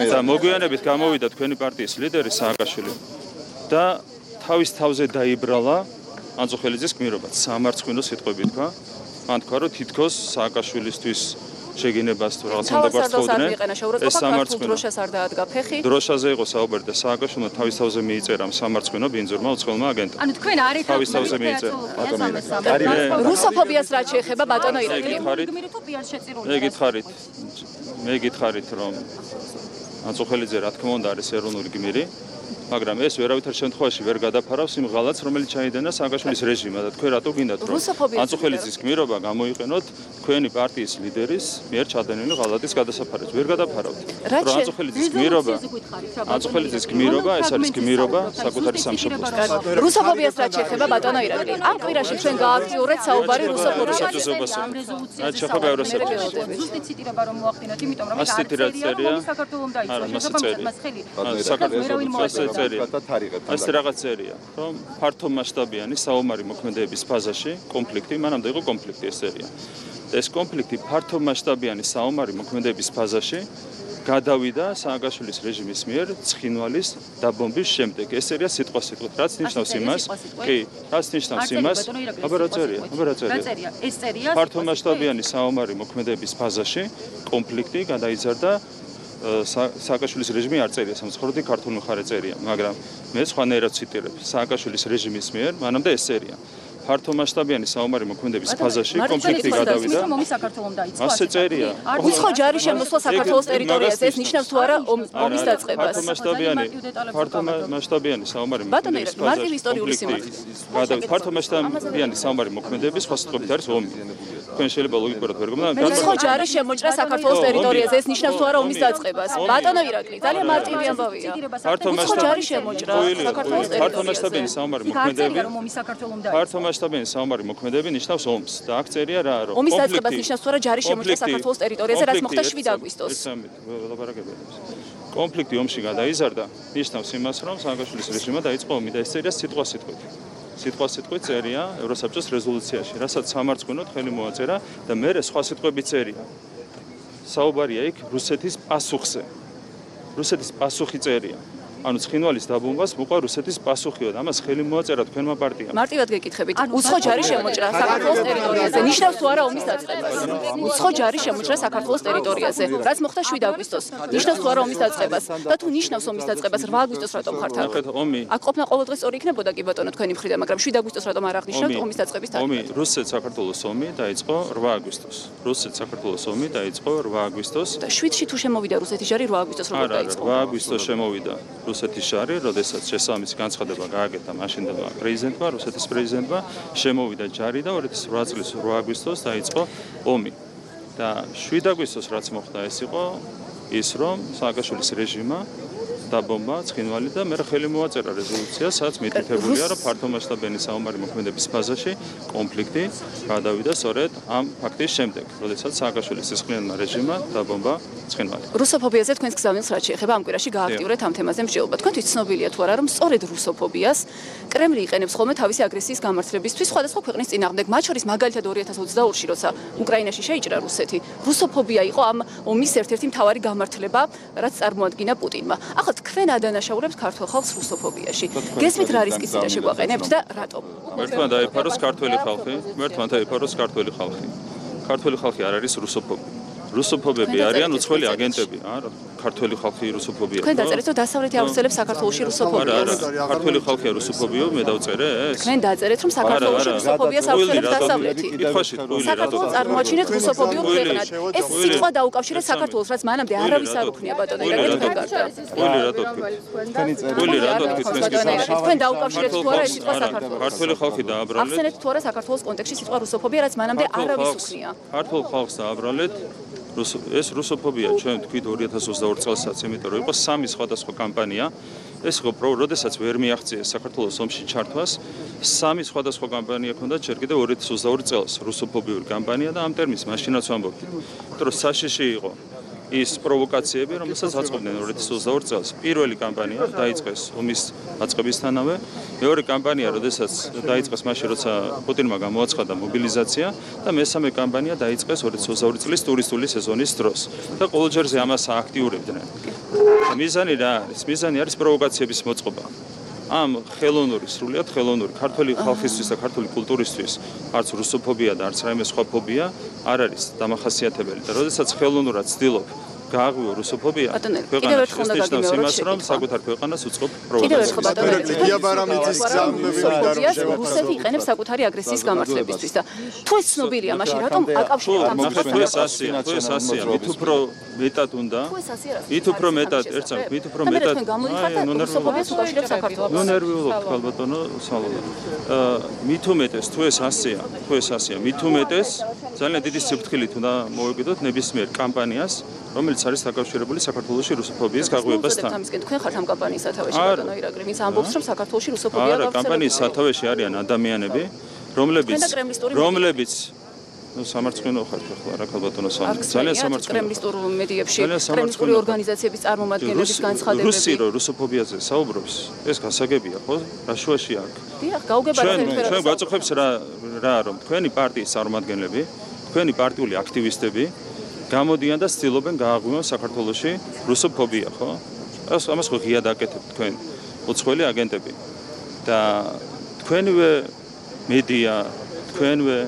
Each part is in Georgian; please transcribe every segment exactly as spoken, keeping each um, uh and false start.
და მოგვიანებით გამოვიდა თქვენი პარტიის ლიდერი სააკაშვილი და თავის თავზე დაიბრალა ანწუხელიძის გმირობაც სამარცხვინო სიტყვებით თქვა. მან თქვა რომ თითქოს სააკაშვილისთვის შეგინებას თუ რაღაც უნდა გვაწყობდნენ ეს სამარცხვინო დროშას არ დაადგა ფეხი დროშაზე იყო საუბარი და სააკაშვილმა თავის თავზე მიიწერა სამარცხვინო ბინძურმა უცხოელმა აგენტმა ანუ თქვენ არით თავის თავზე მიიწერა რუსოფობიას რაც შეეხება ბატონო ირაკლი მე გითხარით მე გითხარით რომ ანწუხელიძე რა თქმა უნდა არის ეროვნული გმირი მაგრამ ეს ვერავითარ შემთხვევაში ვერ გადაფარავს იმ ღალატს რომელიც ჩაიდენა სააკაშვილის რეჟიმმა და თქვენ რატო გინდათ რომ ანწუხელიძის გმირობა გამოიყენოთ თქვენი პარტიის ლიდერის მიერ ჩადენილი ღალატის გადასაფარად ვერ გადაფარავთ რომ ანწუხელიძის გმირობა ანწუხელიძის გმირობა ეს არის გმირობა საკუთარი სამშობლოსთვის რუსოფობიას რაც შეეხება ბატონო ირაკლი ამ კვირაში ჩვენ გააქტიურეთ საუბარი რუსოფობიაზე აი შეხება ევროსაბჭოს ზუსტი ციტირება რომ მოახდინოთ იმიტომ რომ ეს წერია საქართველოს დაიწყო საქართველოს ეს რაღაც წერია, რომ ფართო მასშტაბიანი საომარი მოქმედებების ფაზაში კონფლიქტი, მანამდე იყო კონფლიქტი ეს წერია. ეს კონფლიქტი ფართო მასშტაბიანი საომარი მოქმედებების ფაზაში გადავიდა სააკაშვილის რეჟიმის მიერ ცხინვალის დაბომბვის შემდეგ. ეს წერია სიტყვა სიტყვით, რაც ნიშნავს იმას, კი, რაც ნიშნავს იმას, აბა რა წერია, აბა რა წერია. ეს წერია ფართო მასშტაბიანი საომარი მოქმედებების ფაზაში კონფლიქტი გადაიზარდა სააკაშვილის რეჟიმი არ წერია სამცხოროდი ქართული მხარე წერია, მაგრამ მე სხვანაირად ციტირებ სააკაშვილის რეჟიმის მიერ, მანამდე ეს წერია. ფართო მასშტაბიანი საომარი მოქმედების ფაზაში კონფლიქტი გადავიდა. ასე წერია. უცხო ჯარი შემოსვლა საქართველოს ტერიტორიაზე, ეს ნიშნავს თუ არა ომის დაწყებას. ფართო მასშტაბიანი ფართო მასშტაბიანი საომარი მოქმედების მარტივ ისტორიული სიმართლე. გადავიდა. ფართო მასშტაბიანი საომარი მოქმედების სხვა სიტყვებით არის ომი. თქვენ შეიძლება ლოგიკურად ვერ გმობთ. უცხო ჯარი შემოჭრა საქართველოს ტერიტორიაზე, ეს ნიშნავს თუ არა ომის დაწყებას. ბატონო ირაკლი, ძალიან მარტივი ამბავია. უცხო ჯარი შემოჭრა საქართველოს ტერიტორიაზე. ფართო მასშტაბიანი საომარი მოქმედები. ფართო მასშტაბიანი საომარი მოქმედები ნიშნავს ომს და აქ წერია რა რომ ომის დაწყებას ნიშნავს თუ არა ჯარი შემოჭრა საქართველოს ტერიტორიაზე, რაც მოხდა შვიდ აგვისტოს. კონფლიქტი ომში გადაიზარდა, ნიშნავს იმას რომ სააკაშვილის რეჟიმმა დაიწყო ომი და ეს წერია სიტყვა სიტყვით. სიტყვა სიტყვით წერია ევროსაბჭოს რეზოლუციაში, რასაც სამარცხვინოდ ხელი მოაწერა და მერე სხვა სიტყვები წერია. საუბარია იქ რუსეთის პასუხზე. რუსეთის პასუხი წერია. ანუ ცხინვალის დაბომბვას მოყვა რუსეთის პასუხიო და ამას ხელი მოაწერა თქვენმა პარტიამ. მარტივად გეკითხებით, უცხო ჯარი შემოჭრა საქართველოს ტერიტორიაზე, ნიშნავს თუ არა ომის დაწყებას. უცხო ჯარი შემოჭრა საქართველოს ტერიტორიაზე, რაც მოხდა შვიდ აგვისტოს, ნიშნავს თუ არა ომის დაწყებას და თუ ნიშნავს ომის დაწყებას რვა აგვისტოს რატომ ხართ აქ? ომი. აქ ყოფნა ყოველდღე სწორი იქნებოდა კი ბატონო თქვენი მხრიდან, მაგრამ შვიდ აგვისტოს რატომ არ აღნიშნავთ ომის დაწყების დატა? ომი რუსეთ-საქართველოს ომი დაიწყო რვა აგვისტოს. რუსეთ-საქართველოს ომი დაიწყო რვა აგვისტოს. და შვიდში თუ შემოვიდა რუსეთის ჯარი რვა აგვისტოს როგორ დაიწყო? რვა აგვისტოს შემოვიდა. რუსეთის ჯარი, როდესაც შესაბამისი განცხადება გააკეთა მაშინდელმა პრეზიდენტმა, რუსეთის პრეზიდენტმა, შემოვიდა ჯარი და ორი ათას ოთხ წლის რვა აგვისტოს დაიწყო ომი. და შვიდ აგვისტოს რაც მოხდა ეს იყო ის რომ სააკაშვილის რეჟიმმა დაბომბა ცხინვალი და მე ხელი მოაწერა რეზოლუცია, სადაც მითითებულია რომ ფართო მასშტაბიანი საომარი მოქმედების ფაზაში კონფლიქტი გადავიდა სწორედ ამ ფაქტის შემდეგ, როდესაც სააკაშვილის სისხლიანმა რეჟიმმა დაბომბა ცხინვალი. რუსოფობიაზე თქვენს გზავნილს რაც შეეხება ამ კვირაში გააქტიურეთ ამ თემაზე მსჯელობა. თქვენთვის ცნობილია თუ არა რომ სწორედ რუსოფობიას კრემლი იყენებს ხოლმე თავისი აგრესიის გამართლებისთვის სხვადასხვა ქვეყნის წინააღმდეგ, მათ შორის მაგალითად ორი ათას ოცდაორში როცა უკრაინაში შეიჭრა რუსეთი, რუსოფობია იყო ამ ომის ერთ-ერთი მთავარი გამართლება, რაც წარმოადგინა პუტინმა. ახლა თქვენ ადანაშაულებს ქართულ ხალხს რუსოფობიაში. გესმით რა რისკის წინაშე გვაყენებთ და რატომ? მერთმა დაიფაროს ქართველი ხალხი, მერთმა დაიფაროს ქართველი ხალხი. ქართველი ხალხი არ არის რუსოფობი. რუსოფობები არიან უცხოელი აგენტები, არა, ქართველი ხალხი რუსოფობია. თქვენ დაწერეთ რომ დასავლეთი აუცილებს საქართველოში რუსოფობიას. ქართველი ხალხია რუსოფობიო, მე დავწერე ეს. თქვენ დაწერეთ რომ საქართველოში რუსოფობიას აუცილებს დასავლეთი. საქართველოს წარმოაჩინეთ რუსოფობიურ ქვეყნად. ეს სიტყვა დაუკავშირეთ საქართველოს, რაც მანამდე არავის არ უქმნია ბატონო ირაკლი თქვენ. ყველი რატო თქვი? ყველი რატო თქვი თქვენ? თქვენ დაუკავშირეთ თუ არა ეს სიტყვა საქართველოს. ქართველი ხალხი დააბრალეთ. ახსენეთ თუ არა საქართველოს კონტექსტში სიტყვა რუსოფობია, რაც მანამდე არავის უქმნია. ქართულ ხალხს დააბრალეთ. ეს რუსოფობია ჩვენ თქვით ორი ათას ოცდაორ წელსაც, იმიტომ რომ იყო სამი სხვადასხვა კამპანია. ეს იყო პრო, როდესაც ვერ მიაღწიეს საქართველოს ომში ჩართვას, სამი სხვადასხვა კამპანია ჰქონდა ჯერ კიდევ ორი ათას ოცდაორი წელს, რუსოფობიური კამპანია და ამ ტერმინს მაშინაც ვამბობთ. იმიტომ რომ საშიში იყო ის პროვოკაციები, რომელსაც აწყობდნენ ორი ათას ოცდაორ წელს. პირველი კამპანია დაიწყეს ომის დაწყებისთანავე, მეორე კამპანია, როდესაც დაიწყეს მაშინ, როცა პუტინმა გამოაცხადა მობილიზაცია და მესამე კამპანია დაიწყეს ორი ათას ოცდაორი წლის ტურისტული სეზონის დროს. და ყოველჯერზე ამას აქტიურებდნენ. მიზანი რა არის? მიზანი არის პროვოკაციების მოწყობა. ამ ხელოვნური, სრულიად ხელოვნური ქართული ხალხისთვის და ქართული კულტურისთვის არც რუსოფობია და არც რაიმე სხვა ფობია არ არის დამახასიათებელი და როდესაც ხელოვნურად ცდილობ გააღვიო რუსოფობია, კიდევ ერთხელ უნდა გაგიმეოროთ იმას, რომ საკუთარ ქვეყანას უწყობ კიდევ ერთხელ ბატონო, ლეგია ბარამიძის გზავნები მინდა რომ შევაფასოთ. რუსეთი იყენებს საკუთარი აგრესიის გამართლებისთვის და თუ ეს ცნობილია, მაშინ რატომ აკავშირებთ ამ ნახეთ, ეს ასია, თუ ეს ასია, მით უფრო მეტად უნდა. მით უფრო მეტად, ერთსა, მით უფრო მეტად. აი, რუსოფობიას უკავშირებს საქართველოს. ნუ ნერვიულობთ ხალბატონო, სალოდო. აა მით უმეტეს, თუ ეს ასია, თუ ეს ასია, მით უმეტეს ძალიან დიდი სიფრთხილით უნდა მოვეკიდოთ ნებისმიერ კამპანიას, რომელიც არის დაკავშირებული საქართველოში რუსოფობიის გაღვივებასთან. ამისკენ თქვენ ხართ ამ კამპანიის სათავეში ბატონო ირაკლი, ვინც ამბობს, რომ საქართველოში რუსოფობია არა, კამპანიის სათავეში არიან ადამიანები, რომლებიც რომლებიც ну სამარცხვინო ხართ ახლა რა ქალბატონო სამარცხვინო ძალიან სამარცხვინო კრემლისტურ მედიებში კრემლისტური ორგანიზაციების წარმომადგენლების განცხადებები რუსი რო რუსოფობიაზე საუბრობს ეს გასაგებია ხო რა შუაში აქ დიახ გაუგებართ ჩვენ ჩვენ გვაწუხებს რა რა რომ თქვენი პარტიის წარმომადგენლები თქვენი პარტიული აქტივისტები გამოდიან და ცდილობენ გააღვივონ საქართველოში რუსოფობია ხო ამას ხო ღია დაკეთებთ თქვენ უცხოელი აგენტები და თქვენივე მედია თქვენვე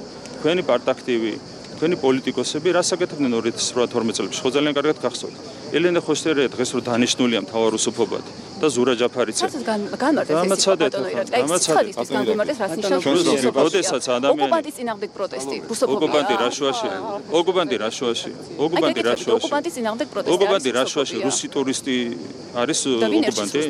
თქვენი პარტაქტივი, თქვენი პოლიტიკოსები რას აკეთებდნენ ორი ათას თორმეტ წელს? ხო ძალიან კარგად გახსოვთ. ელენე ხოსტერია დღეს რო დანიშნულია მთავარ რუსოფობად და ზურა ჯაფარიძე. გამარტეთ ეს ბატონო ირაკლი. გამარტეთ. გამარტეთ რას ნიშნავს რუსოფობია? როდესაც ადამიანი ოკუპანტის წინააღმდეგ პროტესტი, რუსოფობია. ოკუპანტი რაშუაში? ოკუპანტი რაშუაში? ოკუპანტი რაშუაში? ოკუპანტის წინააღმდეგ პროტესტი. ოკუპანტი რაშუაში? რუსი ტურისტი არის ოკუპანტი?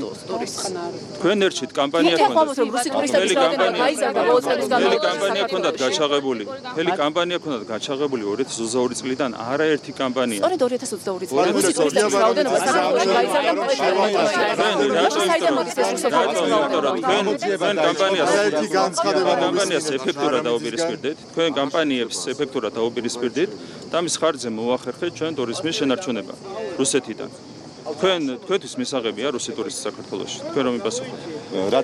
თქვენ ერჩით კამპანია ქონდათ. რუსი ტურისტების რაოდენობა გაიზარდა ბოლო წლების განმავლობაში. კამპანია ქონდათ გაჩაღებული. მთელი კამპანია ქონდათ გაჩაღებული ორი ათას ოცდაორი წლიდან არაერთი კამპანია. სწორედ ორი ათას ოცდაორი წლიდან რუსი ტურისტების რაოდენობა საქართველოში გაიზარდა თქვენ კამპანიას ეფექტურად დაუპირისპირდით, თქვენ კამპანიებს ეფექტურად დაუპირისპირდით და მის ხარჯზე მოახერხეთ ჩვენ ტურიზმის შენარჩუნება რუსეთიდან. თქვენ თქვენთვის მისაღებია რუსი ტურისტი საქართველოში. თქვენ რომ იპასუხოთ.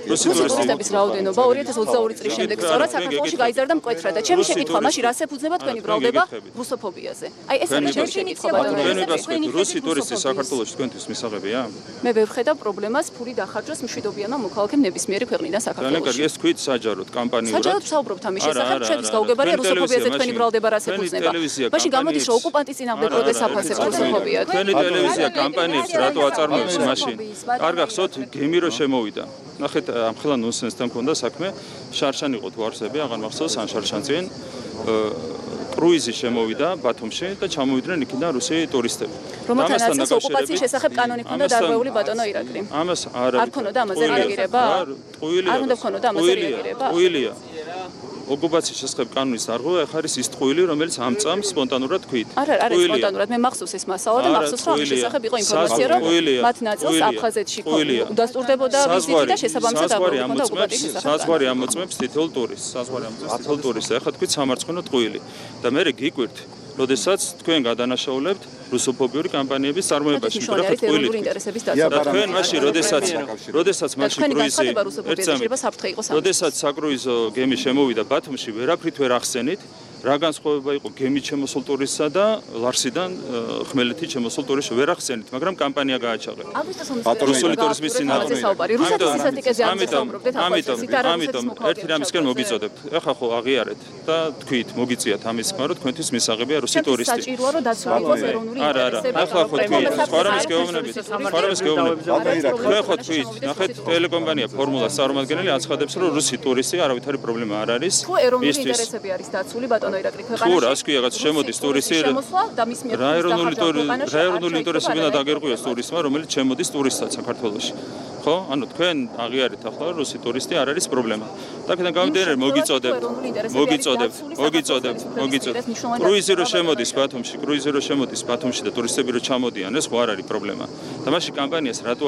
რუსი ტურისტების რაოდენობა ორი ათას ოცდაორი წლის შემდეგ სწორად საქართველოში გაიზარდა მკვეთრად და ჩემი შეკითხვა მაშინ რას ეფუძნება თქვენი ბრალდება რუსოფობიაზე? აი ეს არის ჩემი შეკითხვა ბატონო. თქვენ იპასუხოთ რუსი ტურისტი საქართველოში თქვენთვის მისაღებია? მე ვერ ხედავ პრობლემას ფული დახარჯოს მშვიდობიანმა მოქალაქემ ნებისმიერი ქვეყნიდან საქართველოში. ძალიან კარგი, ეს თქვით საჯაროდ კამპანიურად. საჯაროდ ვსაუბრობთ ამის შესახებ, ჩვენთვის გაუგებარია რუსოფობიაზე თქვენი ბრალდება რას ეფუძნება. მაშინ გამოდის რომ ოკუპანტის წინააღმდეგ პროტესტს აფასებს რუსოფობია. თქვენი ტელევიზია კამპანიებს რატო აწარმოებს მაშინ? არ გახსოვთ გემი რო შემოვიდა. ნახეთ ამ ხელა ნონსენსთან მქონდა საქმე, შარშან იყო თუ არსები, აღარ მახსოვს ან შარშანწინ კრუიზი შემოვიდა ბათუმში და ჩამოვიდნენ იქიდან რუსი ტურისტები. რომელთან არის ოკუპაციის შესახებ კანონი ქონდა დარღვეული ბატონო ირაკლი. ამას არ არის. არ ქონოდა ამაზე რეაგირება? ტყუილია. არ უნდა ქონოდა ამაზე რეაგირება? ტყუილია. ოკუპაციის შესახებ კანონის დარღვევა ახ არის ის ტყუილი, რომელიც ამ წამს სპონტანურად თქვით. არა, არა, სპონტანურად. მე მახსოვს ეს მასალა და მახსოვს რომ ამის შესახებ იყო ინფორმაცია, რომ მათ ნაწილს აფხაზეთში udasturდებოდა ვიზიტი და შესაბამისად დარღვეული ქონდა ოკუპაციის შესახებ. საზღვარი ამოწმებს თითოეულ ტურისტს, საზღვარი ამოწმებს თითოეულ ტურისტს. ახლა თქვით სამარცხვინო ტყუილი. და მე გიკვირთ, როდესაც თქვენ გადანაშაულებთ რუსოფობიური კამპანიების წარმოებაში, მაგრამ ახლა ტყუილი. და თქვენ მაშინ როდესაც როდესაც მაშინ კრუიზი ერთსა როდესაც საკრუიზო გემი შემოვიდა ბათუმში, ვერაფრით ვერ ახსენით. რა განსხვავება იყო გემით შემოსულ ტურისტსა და ლარსიდან ხმელეთით შემოსულ ტურისტს ვერ ახსენით, მაგრამ კამპანია გააჩაღეს. რუსული ტურიზმის წინააღმდეგ. ამიტომ, ამიტომ ერთი რამისკენ მოგიწოდებთ. ეხლა ხო აღიარეთ და თქვით, მოგიწიათ ამის ხმა, რომ თქვენთვის მისაღებია რუსი ტურისტი. საჭიროა რომ დაცული იყოს ეროვნული არა, არა, ახლა ხო თქვით, სხვა რამის გეუბნებით, სხვა რამის გეუბნებით. თქვენ ხო თქვით, ნახეთ, ტელეკომპანია ფორმულას წარმომადგენელი აცხადებს, რომ რუსი ტურისტი არავითარი პრობლემა არ არის. თუ ეროვნული ინტერესები არის დაცული ბატონო ირაკლი ქვეყანაში. თუ რას ქვია, რაღაც შემოდის ტურისტი. რა ეროვნული რა ეროვნული ინტერესები უნდა დაგერღვიოს ტურისტმა, რომელიც შემოდის ტურისტად საქართველოში. ხო? ანუ თქვენ აღიარეთ ახლა რუსი ტურისტი არ არის პრობლემა. და აქედან გამომდინარე მოგიწოდებთ, მოგიწოდებთ, მოგიწოდებთ, მოგიწოდებთ. კრუიზი რო შემოდის ბათუმში, კრუიზი რო შემოდის ბათუმში და ტურისტები რო ჩამოდიან, ეს ხო არ არის პრობლემა. და მაშინ კამპანიას რატო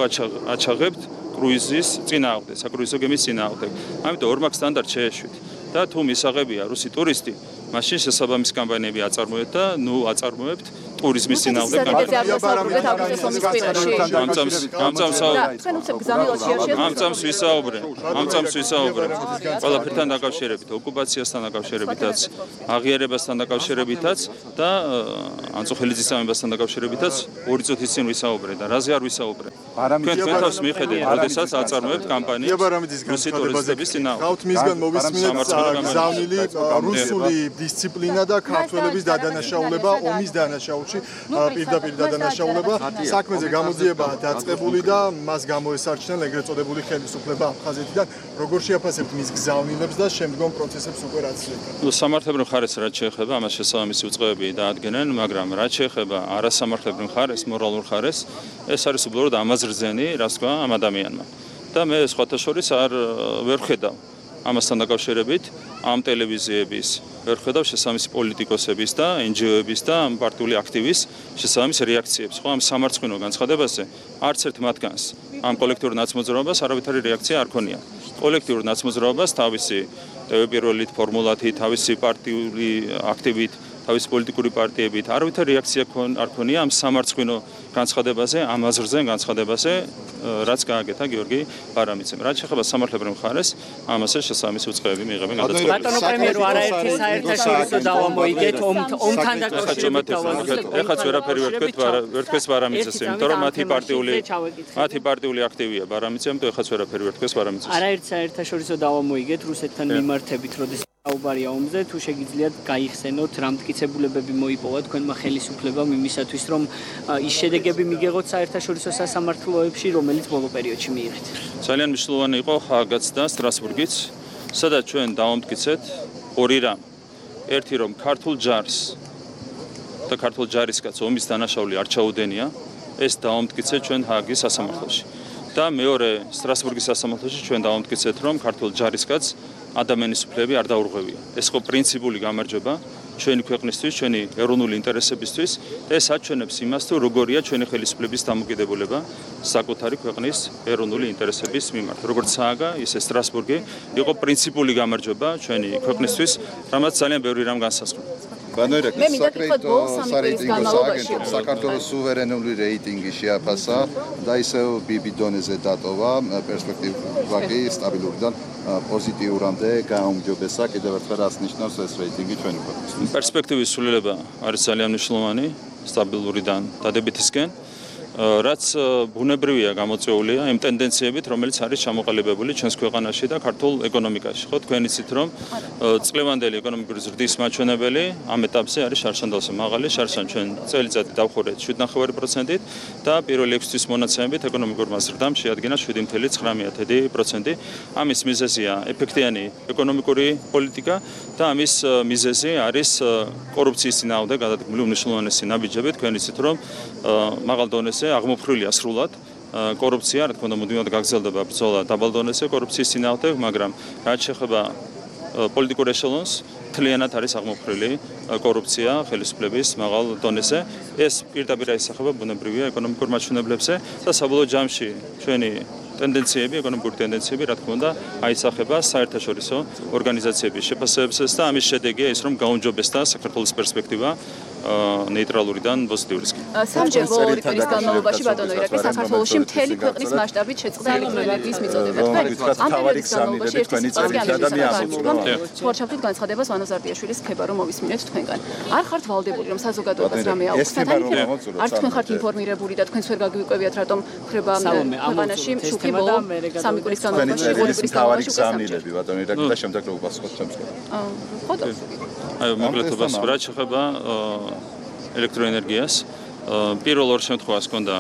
აჩაღებთ კრუიზის წინააღმდეგ, საკრუიზო გემის წინააღმდეგ? ამიტომ ორმაგ სტანდარტს შეეშვით. და თუ მისაღებია რუსი ტურისტი, მაშინ შესაბამის კამპანიები აწარმოებთ და ნუ აწარმოებთ ტურიზმის წინააღმდეგ ამ წამს ვისაუბრე ამ წამს ვისაუბრე ყველაფერთან დაკავშირებით ოკუპაციასთან დაკავშირებითაც აღიარებასთან დაკავშირებითაც და ანწუხელი წამებასთან დაკავშირებითაც ორი წუთის წინ ვისაუბრე და რაზე არ ვისაუბრე თქვენ თვითონს მიხედეთ როდესაც აწარმოებთ კამპანიას რუსი ტურისტების წინააღმდეგ გავთ მისგან მოვისმინეთ გზავნილი რუსული დისციპლინა და ქართველების დადანაშაულება ომის დანაშაულში პირდაპირ დადანაშაულება საქმეზე გამოძიება დაწყებული და მას გამოესარჩნენ ეგრეთ წოდებული ხელისუფლება აფხაზეთიდან როგორ შეაფასებთ მის გზავნილებს და შემდგომ პროცესებს უკვე რაც ნუ სამართლებრივ მხარეს რაც შეეხება ამას შესაბამისი უწყებები დაადგენენ მაგრამ რაც შეეხება არასამართლებრივ მხარეს მორალურ მხარეს ეს არის უბრალოდ ამაზრზენი რას თქვა ამ ადამიანმა და მე სხვათა შორის არ ვერ ხედავ ამასთან დაკავშირებით ამ ტელევიზიების ვერ ხედავ შესაბამისი პოლიტიკოსების და εν ჯი ო-ების და ამ პარტიული აქტივის შესაბამის რეაქციებს ხო ამ სამარცხვინო განცხადებაზე არც ერთ მათგანს ამ კოლექტიურ ნაცმოძრაობას არავითარი რეაქცია არ ქონია კოლექტიურ ნაცმოძრაობას თავისი პირველით ფორმულათი თავისი პარტიული აქტივით თავის პოლიტიკური პარტიებით არავითარი რეაქცია არ ქონია ამ სამარცხვინო განცხადებაზე ამ აზრზე განცხადებაზე რაც გააკეთა გიორგი ბარამიძემ. რაც შეეხება სამართლებრივ მხარეს, ამაზე შესაბამისი უწყებები მიიღებენ გადაწყვეტილებას. ბატონო პრემიერო, არაერთი საერთაშორისო დავა მოიგეთ ომთან დაკავშირებით დავალებით. ეხაც ვერაფერი ვერ თქვით, ვერ თქვეს ბარამიძეს, იმიტომ რომ მათი პარტიული მათი პარტიული აქტივია ბარამიძე, ამიტომ ეხაც ვერაფერი ვერ თქვეს ბარამიძეს. არაერთი საერთაშორისო დავა მოიგეთ რუსეთთან მიმართებით, როდის საუბარია ომზე, თუ შეგიძლიათ გაიხსენოთ რა მტკიცებულებები მოიპოვა თქვენმა ხელისუფლებამ იმისათვის, რომ ის შედეგები მიგეღოთ საერთაშორისო სასამართლოებში, რომელიც ბოლო პერიოდში მიიღეთ. ძალიან მნიშვნელოვანი იყო ხაგაცდა სტრასბურგიც, სადაც ჩვენ დავამტკიცეთ ორი რამ. ერთი რომ ქართულ ჯარს და ქართულ ჯარისკაც ომის დანაშაული არ ჩაუდენია, ეს დავამტკიცეთ ჩვენ ჰააგის სასამართლოში. და მეორე სტრასბურგის სასამართლოში ჩვენ დავამტკიცეთ რომ ქართულ ჯარისკაც ადამიანის უფლებები არ დაურღვევია. ეს ხო პრინციპული გამარჯვება ჩვენი ქვეყნისთვის, ჩვენი ეროვნული ინტერესებისთვის და ეს აჩვენებს იმას, თუ როგორია ჩვენი ხელისუფლების დამოკიდებულება საკუთარი ქვეყნის ეროვნული ინტერესების მიმართ. როგორც სააგა, ისე სტრასბურგი იყო პრინციპული გამარჯვება ჩვენი ქვეყნისთვის, რამაც ძალიან ბევრი რამ განსაზღვრა. ბანოირაკის საკრედიტო სარეიტინგო სააგენტომ საქართველოს სუვერენული რეიტინგი შეაფასა და ისევ ბიბი დონეზე დატოვა პერსპექტივაში სტაბილურიდან პოზიტიურამდე გაუმჯობესა კიდევ ერთხელ რაც ნიშნავს ეს რეიტინგი ჩვენი ქვეყნისთვის. პერსპექტივის სრულება არის ძალიან მნიშვნელოვანი სტაბილურიდან დადებითისკენ. რაც ბუნებრივია გამოწვეულია იმ ტენდენციებით, რომელიც არის ჩამოყალიბებული ჩვენს ქვეყანაში და ქართულ ეკონომიკაში. ხო, თქვენ იცით, რომ წლევანდელი ეკონომიკური ზრდის მაჩვენებელი ამ ეტაპზე არის შარშანდალზე მაღალი, შარშან ჩვენ წელიწადი დავხურეთ შვიდ ნახევარი პროცენტით და პირველი ექვსი თვის მონაცემებით ეკონომიკურმა ზრდამ შეადგინა შვიდი ფاصლე ცხრამეტი პროცენტი. ამის მიზეზია ეფექტიანი ეკონომიკური პოლიტიკა და ამის მიზეზი არის კორუფციის წინააღმდეგ გადადგმული უმნიშვნელოვანესი ნაბიჯები. თქვენ იცით, რომ მაღალ დონეზე აღმოფხვრილია სრულად კორუფცია, რა თქმა უნდა, მუდმივად გაგრძელდება ბრძოლა დაბალ დონეზე კორუფციის წინააღმდეგ, მაგრამ რაც შეეხება პოლიტიკურ ეშელონს, მთლიანად არის აღმოფხვრილი კორუფცია ხელისუფლების მაღალ დონეზე. ეს პირდაპირ აისახება ბუნებრივია ეკონომიკურ მაჩვენებლებზე და საბოლოო ჯამში ჩვენი ტენდენციები, ეკონომიკური ტენდენციები, რა თქმა უნდა, აისახება საერთაშორისო ორგანიზაციების შეფასებებსაც და ამის შედეგია ის, რომ გაუმჯობესდა საქართველოს პერსპექტივა ნეიტრალურიდან პოზიტიურისკენ. სამჯერ ორი წლის განმავლობაში ბატონო ირაკლი საქართველოში მთელი ქვეყნის მასშტაბით შეწყდა პრემიერის მიწოდება. ამ პერიოდის განმავლობაში ერთი ვარშავით განცხადებას ვანო ზარდიაშვილის ხება რომ მოვისმინეთ თქვენგან. არ ხართ ვალდებული რომ საზოგადოებას რამე აუხსნათ? არ თქვენ ხართ ინფორმირებული და თქვენს ვერ გაგვიკვევიათ რატომ ხდება ქვეყანაში შუქი ბოლო სამი კვირის განმავლობაში ორი წლის განმავლობაში გზავნილები ბატონო ირაკლი და შემდეგ რო უპასუხოთ ჩემს. ხოდა აი მოგლეთობას რა შეეხება ელექტროენერგიას პირველ ორ შემთხვევას ჰქონდა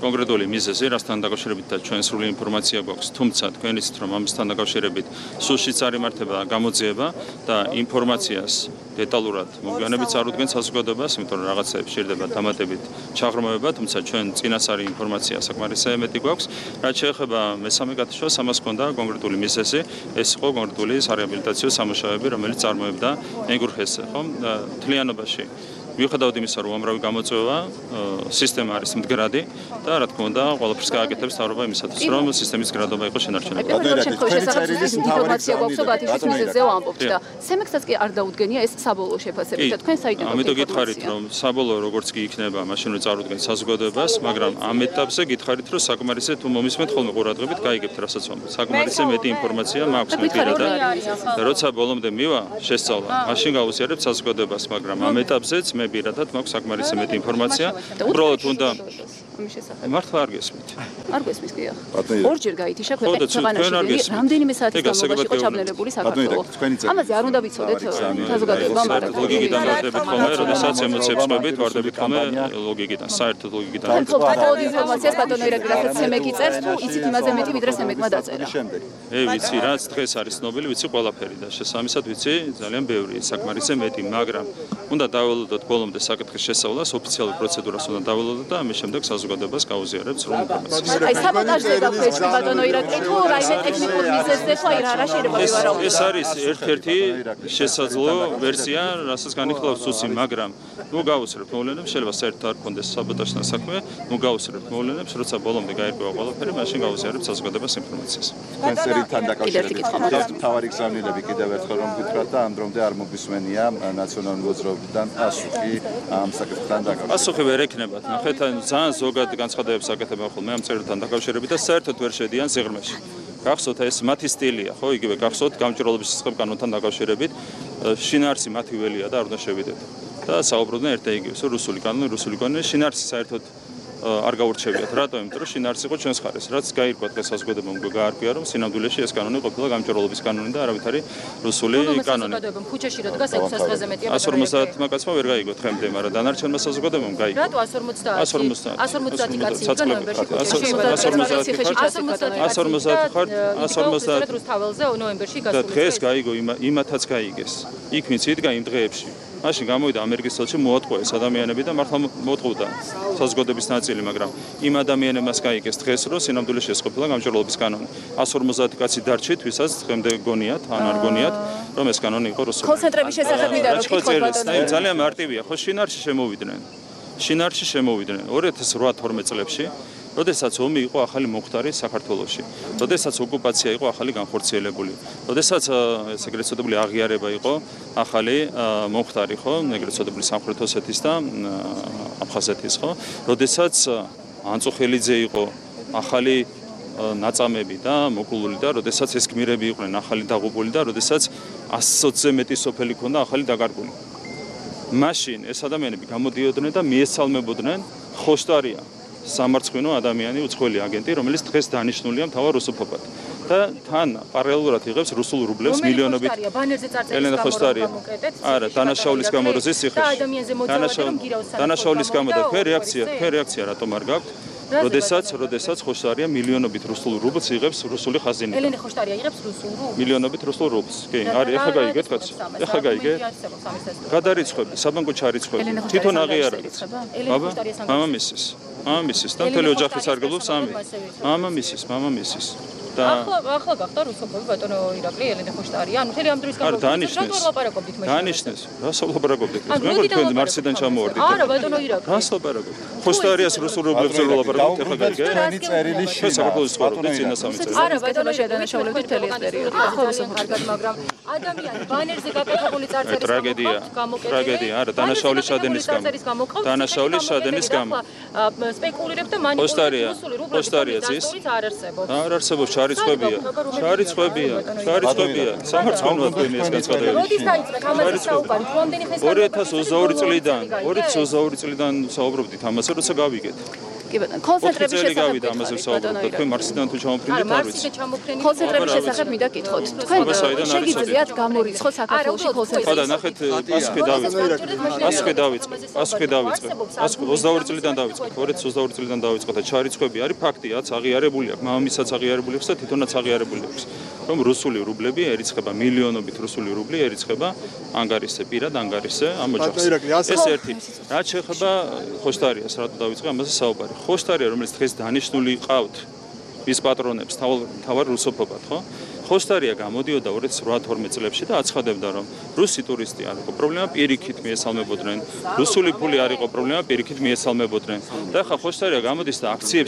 კონკრეტული მიზეზი, რასთან დაკავშირებით ჩვენ სრული ინფორმაცია გვაქვს, თუმცა თქვენ იცით, რომ ამასთან დაკავშირებით სულშიც არ იმართება გამოძიება და ინფორმაციას დეტალურად მოგვიანებით წარუდგენ საზოგადოებას, იმიტომ რომ რაღაცაებს შეიძლება დამატებით ჩაღრმავება, თუმცა ჩვენ წინასწარი ინფორმაცია საკმარისად მეტი გვაქვს. რაც შეეხება მესამე გათიშვას, ამას ჰქონდა კონკრეტული მიზეზი, ეს იყო კონკრეტული სარეაბილიტაციო სამუშაოები, რომელიც წარმოებდა ენგურხეს, ხო? მთლიანობაში მიუხედავად იმისა, რომ უამრავი გამოწვევა, სისტემა არის მდგრადი და რა თქმა უნდა, ყველაფერს გააკეთებს თავრობა იმისათვის, რომ სისტემის მდგრადობა იყოს შენარჩუნებული. ინფორმაცია გვაქვს, რომ ბათიშვილის მიზეზზე ვამბობთ და სემექსსაც კი არ დაუდგენია ეს საბოლოო შეფასებით და თქვენ საიდან გვაქვს? ამიტომ გითხარით, რომ საბოლოო როგორც კი იქნება, მაშინ რომ წარუდგენ საზოგადოებას, მაგრამ ამ ეტაპზე გითხარით, რომ საკმარისად თუ მომისმენთ ხოლმე ყურადღებით, გაიგებთ რასაც ვამბობ. საკმარისად მეტი ინფორმაცია მაქვს მე პირადად. და როცა ბოლომდე მივა შესწავლა, მაშინ გავუზიარებ საზოგადოებას, მაგრამ ამ ეტაპზეც მე პირადად მაქვს საკმარისად მეტი ინფორმაცია. უბრალოდ უნდა მართლა არ გესმით. არ გესმის კი ახ. ორჯერ გაითიშა ქვეყანაში რამდენიმე საათის განმავლობაში იყო ჩაბნელებული საქართველო. ამაზე არ უნდა ვიცოდეთ საზოგადოებამ. ლოგიკიდან ვარდებით ხოლმე, როდესაც ემოციებს ყვებით, ვარდებით ხოლმე ლოგიკიდან, საერთოდ ლოგიკიდან. ბატონო ინფორმაციას ბატონო ირაკლი, რასაც სემეკი წერს, თუ იცით იმაზე მეტი, ვიდრე სემეკმა დაწერა. ე ვიცი, რაც დღეს არის ცნობილი, ვიცი ყველაფერი და შესაბამისად ვიცი ძალიან ბევრი, საკმარისად მეტი, მაგრამ უნდა დაველოდოთ ბოლომდე საკითხის შესწავლას, ოფიციალურ პროცედურას უნდა დაველოდოთ და ამის შემდეგ საზოგადოებას გავუზიარებთ სრულ ინფორმაციას. აი საბოტაჟზე გაქვეშ ბატონო ირაკლი, თუ რაიმე ტექნიკურ მიზეზზე თუ აი რა რა შეიძლება ვივარაუდოთ. ეს არის ერთ-ერთი შესაძლო ვერსია, რასაც განიხილავს სუსი, მაგრამ ნუ გავუსწრებთ მოვლენებს, შეიძლება საერთოდ არ გქონდეს საბოტაჟთან საქმე, ნუ გავუსწრებთ მოვლენებს, როცა ბოლომდე გაირკვევა ყველაფერი, მაშინ გავუზიარებთ საზოგადოებას ინფორმაციას. კენსერთან დაკავშირებით თავარი გზავნილები კიდევ ერთხელ რომ გითხრათ და ამ დრომდე არ მოგვისმენია ნაციონალური მოძრაობიდან პასუხი ამ საკითხთან დაკავშირებით. პასუხი ვერ ექნებათ. ნახეთ, ძალიან ზოგად განცხადებებს აკეთებენ ხოლმე ამ წერილთან დაკავშირებით და საერთოდ ვერ შედიან სიღრმეში. გახსოვთ ეს მათი სტილია, ხო, იგივე გახსოვთ გამჭვირვალობის სისხლ კანონთან დაკავშირებით, შინაარსი მათი ველია და არ უნდა შევიდეთ. და საუბრობდნენ ერთ და იგივეს, რუსული კანონი, რუსული კანონი, შინაარსი საერთოდ არ გაურჩევიათ. რატო? იმიტომ რომ შინაარსი იყო ჩვენს ხარეს. რაც გაირკვა დღეს საზოგადოებამ გაარკვია, რომ სინამდვილეში ეს კანონი ყოფილა გამჭვირვალობის კანონი და არავითარი რუსული კანონი. ქუჩაში რო დგას ექვსას დღეზე მეტია. εκατს ორმოცდაათმა კაცმა ვერ გაიგო თხემდე, მაგრამ დანარჩენმა საზოგადოებამ გაიგო. რატო εκατს ორმოცდაათი? εκατს ორმოცდაათი. εκατს ორმოცდაათი კაცი იყო ნოემბერში ქუჩაში. εκατს ორმოცდაათი ხარ? εκατს ორმოცდაათი ხარ? εκατს ორმოცდაათი რუსთაველზე ნოემბერში გასული. და დღეს გაიგო, იმათაც გაიგეს. იქ ვინც იდგა იმ დღეებში. მაშინ გამოვიდა ამერიკის ელჩი მოატყუეს ადამიანები და მართლა მოატყუდა საზოგადოების ნაწილი, მაგრამ იმ ადამიანებმაც გაიგეს დღეს, რომ სინამდვილეში ეს ყოფილა გამჭვირვალობის კანონი. εκατს ორმოცდაათი კაცი დარჩით, ვისაც დღემდე გონიათ, ან არ გონიათ, რომ ეს კანონი იყო რუსული. კონცენტრების შესახებ მინდა რომ გითხოთ ბატონო. ძალიან მარტივია, ხო შინაარსში შემოვიდნენ. შინაარსში შემოვიდნენ ორი ათას რვა თორმეტ წლებში. როდესაც ომი იყო ახალი მომხდარი საქართველოში, როდესაც ოკუპაცია იყო ახალი განხორციელებული, როდესაც ეს ეგრეთ წოდებული აღიარება იყო ახალი მომხდარი, ხო, ეგრეთ წოდებული სამხრეთ ოსეთის და აფხაზეთის, ხო, როდესაც ანწუხელიძე იყო ახალი ნაწამები და მოკლული და როდესაც ეს გმირები იყვნენ ახალი დაღუპული და როდესაც ასზე მეტი სოფელი ქონდა ახალი დაკარგული. მაშინ ეს ადამიანები გამოდიოდნენ და მიესალმებოდნენ ხოშტარია სამარცხვინო ადამიანი, უცხოელი აგენტი, რომელიც დღეს დანიშნულია მთავარ რუსოფობად. და თან პარალელურად იღებს რუსულ რუბლებს მილიონობით. ელენა ხოშტარია. არა, დანაშაულის გამო როზის სიხეში. დანაშაულის გამო და ფე რეაქცია, ფე რეაქცია რატომ არ გაქვთ? როდესაც, როდესაც ხოშტარია მილიონობით რუსულ რუბლს იღებს რუსული ხაზინიდან. ელენა ხოშტარია იღებს რუსულ რუბლს? მილიონობით რუსულ რუბლს. კი, არის, ეხლა გაიგეთ კაცი. ეხლა გაიგე. გადარიცხვები, საბანკო ჩარიცხვები. თვითონ აღიარებთ. აბა, მამამისის. მამამისის და მთელი ოჯახი სარგებლობს ამი. მამამისის, მამამისის. და ახლა ახლა გახდა რუსოფობი ბატონო ირაკლი ელენე ხოშტარია. ანუ მთელი ამ დროის განმავლობაში რატო ლაპარაკობდით მე? დანიშნეს. რას ლაპარაკობდით? მე მგონი თქვენ მარსიდან ჩამოვარდით. არა ბატონო ირაკლი. რას ლაპარაკობთ? ხოშტარიას რუსულ რუბლებზე ლაპარაკობთ, ეხლა გაიგე? ჩვენი წერილი საქართველოს ცხოვრობთ წინა სამი წელი. არა ბატონო შედანაშაულებთ მთელი ეს პერიოდი. ახლა რუსოფობად, მაგრამ ადამიანი ბანერზე გაკეთებული წარწერის ტრაგედია. ტრაგედია, არა, დანაშაულის შადენის გამო. დანაშაულის შადენის გამო. სპეკულირებ და მანიპულირებ რუსული რუბლების დასწორით არ არსებობს. არ არსებობს ჩარიცხვებია. ჩარიცხვებია. ჩარიცხვებია. სამარცხვინო ადგილი ეს განცხადებები. როდის დაიწყეთ ამაზე საუბარი? რამდენი ხნის ორი ათას ოცდაორი წლიდან, ორი ათას ოცდაორი წლიდან საუბრობდით ამაზე, როცა გავიგეთ. კი ბატონო, კონცენტრების შესახებ გავიდა ამაზე საუბრობთ. თქვენ მარსიდან თუ ჩამოფრინდით არ ვიცი. კონცენტრების შესახებ მინდა გითხოთ. თქვენ შეგიძლიათ გამორიცხოთ საქართველოში კონცენტრაცია? ხო და ნახეთ, პასუხი დავიწყეთ. პასუხი დავიწყეთ. პასუხი დავიწყეთ. პასუხი ოცდაორი წლიდან დავიწყეთ. ორი ათას ოცდაორი წლიდან დავიწყეთ და ჩარიცხვები არის ფაქტიაც აღიარებული აქვს. მამამისაც აღიარებული აქვს და თვითონაც აღიარებული აქვს. რომ რუსული რუბლები ერიცხება მილიონობით რუსული რუბლი ერიცხება ანგარისზე, პირად ანგარისზე ამ ოჯახს. ეს ერთი. რაც შეეხება ხოშტარიას, რატო დავიწყე ამაზე საუბარი. ხოშტარია, რომელიც დღეს დანიშნული ყავთ მის პატრონებს თავარ რუსოფობად, ხო? ხოსტარია გამოდიოდა ორი ათას ოცდაოთხ წლებში და აცხადებდა, რომ რუსი ტურისტი არ იყო პრობლემა, პირიქით მიესალმებოდნენ. რუსული ფული არ იყო პრობლემა, პირიქით მიესალმებოდნენ. და ახლა ხოსტარია გამოდის და აქციებს